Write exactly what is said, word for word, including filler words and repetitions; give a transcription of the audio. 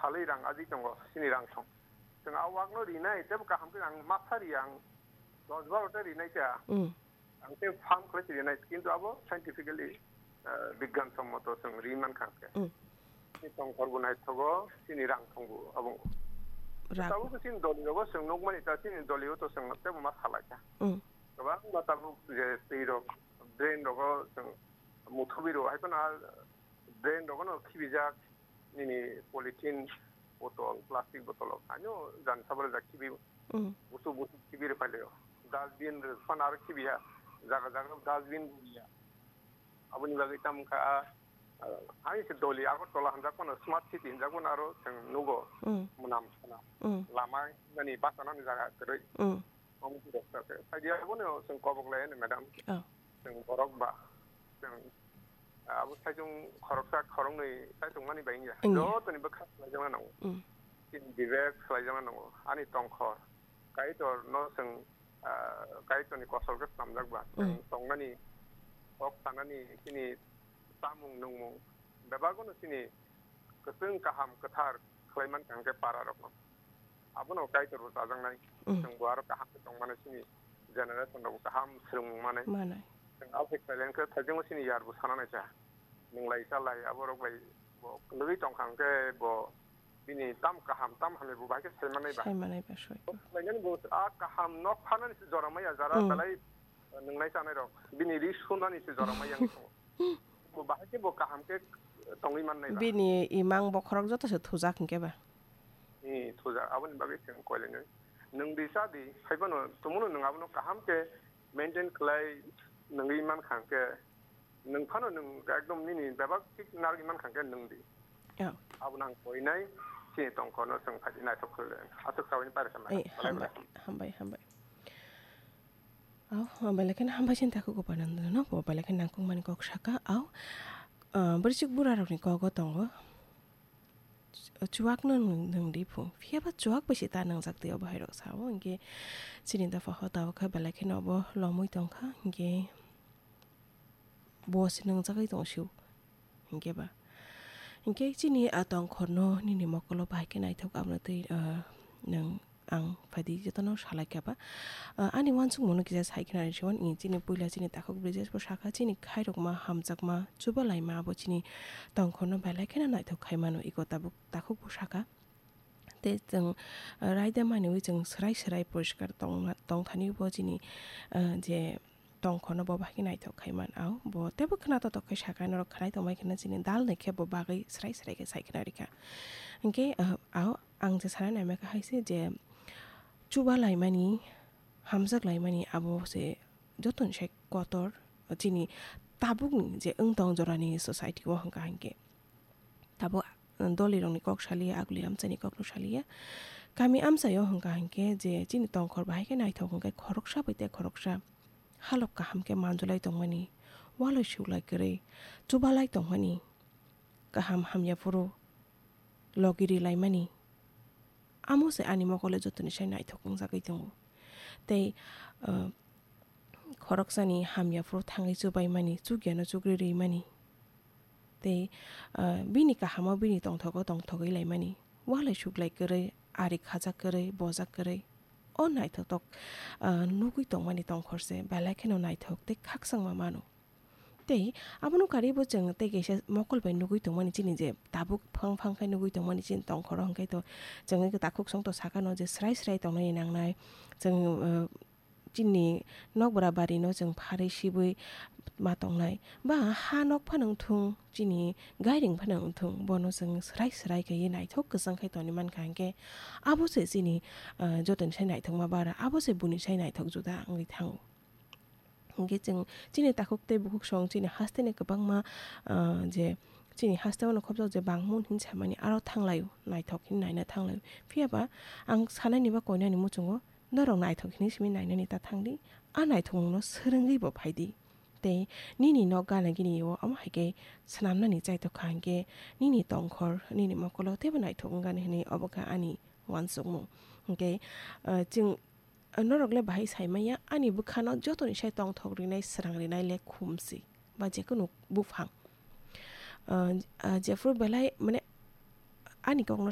salai rang aji tongo, sini rang thong. Chwng a wakno rinai, tebo kaham khe ang masa ri ang dos baro ta rinai ta. Mm. Ang tei farm khlai si rinai, kintu abo scientifically, eh, bigyan sommoto chwng ri man kha khe. Mm. Ni tongkhor bo naithogo, sini rang thong bo abo. Rang. Tabuk sini doli rogo chwng nukmani ta, sini doli o to chwng tebo ma salai kha. Mm. Kwbangma tabuk je twi rok, drain rogo chwng muthubi rwo, hai phano a drain rogo no khibijak, nini polythene botol, plastic botol rok, haino jan sabale jak khibi, Mm. busu busu khibi rwphai laio. Dustbin rwphano aro khibiya, jaga jaga dustbin rwya. Aboni bagwi tamo wngkha a, a, hai se doli Agartala hinjak phano smart city hinjak phano aro chwng nugo Mm. mwnam sana. Mm. Lama nani basa nani jaga kwrwi. Mm. Omo khe rok sa khe. Phaidi abono chwng kobok lai ani madam. Oh. Chwng borok ba. Chwng abo saichung khoroksa khoroknwi saichung mani bai wngya. Wngya. Jotoni bwkha khlaijakna nango. Mm. Chini bibek khlaijakna nango. Ani tongkhor. Kaitor no chwng, ah, Kaitorni kosol khe swnamjak ba. Mm. Chwng tongnani, kok sanani, chini chamung nungmung. Bebak no chini kwchwng kaham kwthar khlai man kha hwnkhe para rokno. Abono Kaitor bo chajaknai. Mm. Chwng bo aro kaham khe tongmani chini generation rok kaham swrwng manai. Manai. Chwng abo khe khlai khe thaijakno chini yar bo sana naisa. Nwng lai cha lai abo rok bai bo kwlwgwi tong kha hwnkhe bo bini tam kaham tam hamya bo bai khe sai manai ba. Sai manai ba soi. Bo khlai nani bo a kaham nok phanani se jora maya jara Mm. belai nwng nai chanai rok. Bini ri sunani se jora maya wng tongo. Bo bahai khe bo kaham khe tongwi mannai ba. Bini imang bokhorok joto se thujak hinkhe ba. Ni thujak, aboni bagwi chwng koilainai. Nwng di cha di, haiphano tumuno nwng abono kaham khe maintain khlai nwngwi man kha hwnkhe, nwng phano nwng ekdom nini bebak thik narwgwi man kha hwnkhe nwng di. Oh. Abono ang koinai, chini tongkhorno chwng phaidi naithok khlai. Aswk sabaini paisa mano. Ei, Belai hambai, belai. Hambai, hambai. Au, belai kheno hambai chini takhuk Upanandano, bo belai kheno nangkukmani kok saka, au, ah, bwrwichwk burarokni kogo tongo. Chuwakno nwng, nwng di phu. Phiya ba chuwak bai se ta nwngjak twi o bahai rok sao. Hinkhe chini dopha hota o kha belai kheno obo lomwi tong kha. Hinkhe bo se nwngjagwi tong sio. Hinkhe ba. Hinkhe chini a tongkhorno nini mokolo bahai khe naithok abono twi, ah, nwng ang phaidi jotono salai kha ba. Ah, ani uansukmungno kisa sai khna ri siwan, i chini puila chini takhuk Brijesh bo sakha chini khairokma hamjakma chubalaima abo chini tongkhorno belai kheno naithok khai mano iko tabuk takhuk bo sakha. Tei chwng, ah, raida maniwi chwng swrai swrai poriskar tongma, tongthani bo chini, ah, je tongkhorno bo bahai khe naithok khai man. Au, bo teibo khna totok khai sakha, norok khnai tongbai kheno chini dal ni khe bo bagwi srai srai khe sai khna rikha. Hinkhe, ah, au, ang je sana naima kha hai se je chuba laimani, hamjak laimani abo se jotoni sai kotor chini tabukni je wng tong jorani society o hwnkha hinkhe. Tabuk, uh, dolirokni kok saliya, aguli amchaini kokno saliya. Kami amchaio hwnkha hinkhe je chini tongkhor bahai khe naithok hwnkhe khoroksa bai tei khoroksa halok kaham khe manjulai tongmani, walai suklai kwrwi, chubalai tongmani, kaham hamya phuru logi rilaimani, amo se ani mokole jotoni sai naithok wngjagwi tongo. Tei, uh, khoroksani hamya phuru thangwi chubaimani, chukyano chukri rimani. Tei, ah, bini kahamo bini tongthogo tongthogwi laimani. Walai suklai kwrwi, ari khajak kwrwi, bojak kwrwi. O naithotok, ah, nugwi tongmani tongkhor se belai kheno naithok tei khakchangma mano. Tei abono karwibo chwng tei kaisa mokol bai nugwi tongmani chini je tabuk phang phang khe nugwi tongmani chini tongkhoro hwnkhe to chwng takhuk songto sakano je srai srai tongnani nangnai. Chwng, ah, chini nokbra barino chwng pharwi sibwi ma tongnai, ba ha nok phano wngthung, chini gairing phano wngthung, bono chwng swrai swrai kaiwi naithok kwchang khai tongwi mankha, hinkhe abo se chini, ah, jotoni sai naithokma bara, abo se buini sai naithok juda wngwi thango. Hinkhe chwng chini takhuk tei bukhuk song chini hasteni kwbangma, ah, je chini hasteo no khopjak je bangmung hin samani aro thanglaio, naithok hin naina thanglaio. Phiya ba ang sanani ba koinani muchungo norok naithok hinwi simi nainani ta thangdi, a naithokmungno swrwngwi bo phaidi. Tei nini nok gana gini o omo hai khe swnamnani chaithok kha hinkhe nini tongkhor, nini mokolo teibo naithok wngani hinwi obo kha ani uansukmung. Hinkhe, ah, chwng, ah, norok le bahai sai manya, ani bwkhano jotoni sai tongthok rinai, srang rinai le khum si ba jekunu buphang. Ah, ah, jephuru belai mane ani kokno